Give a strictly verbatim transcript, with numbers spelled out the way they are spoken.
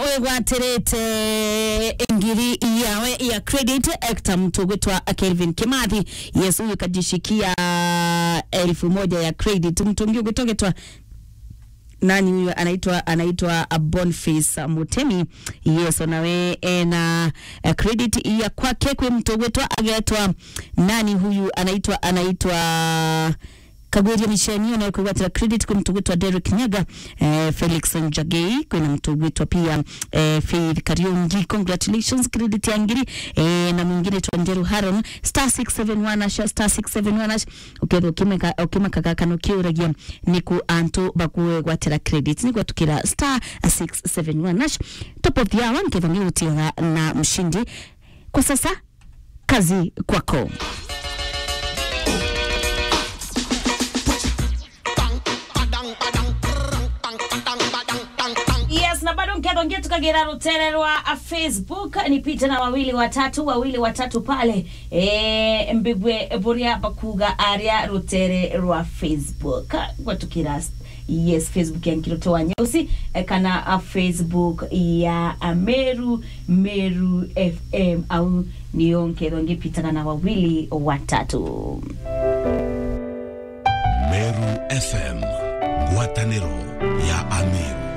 Wigwatirite ngiri yawe ya credit, actor mtu gwitwa Kelvin Kimathi. Yes, huyu kajishikia elfu moja ya credit. Mtu ungi gwitwa, gwitwa nani huyu? Anaitwa, anaitwa, uh, Boniface Mutemi. Yes, nawe ena, uh, credit ya kwake. Kwi mtu gwitwa agetwa nani huyu? Anaitwa, anaitwa Kagwiria Micheni, ona kwigwatira credit kwi mtu gwitwa Derek Nyaga, eh, Felix Njagei, kwina mtu gwitwa pia, eh, Faith Kariungi. Congratulations, credit ya ngiri, eh, na mwingine twa Njeru Haron, star six seven one hash, star six seven one hash. Ukethwa ukimeka-, ukimakaga kana ukiuragia niku antu bakugwatira credit, ni gwatukira star six seven one hash. Top of the hour, nkethwa ngigutiaga na mshindi. Kwa sasa, kazi kwako. Yes, na bado nketho ngitukagira rutere rwa, a, Facebook, nipite na wawili watatu, wawili watatu pale. Eh, mbigwe buria bakuga aria rutere rwa Facebook. Gwatukira, yes, Facebook ya Nkiroto wa Nyeusi, eh, kana, a, Facebook ya, a, Meru, Meru F M. Au nio nkethwa ngipitaga na wawili watatu. Meru F M, ngwataniro ya Ameru.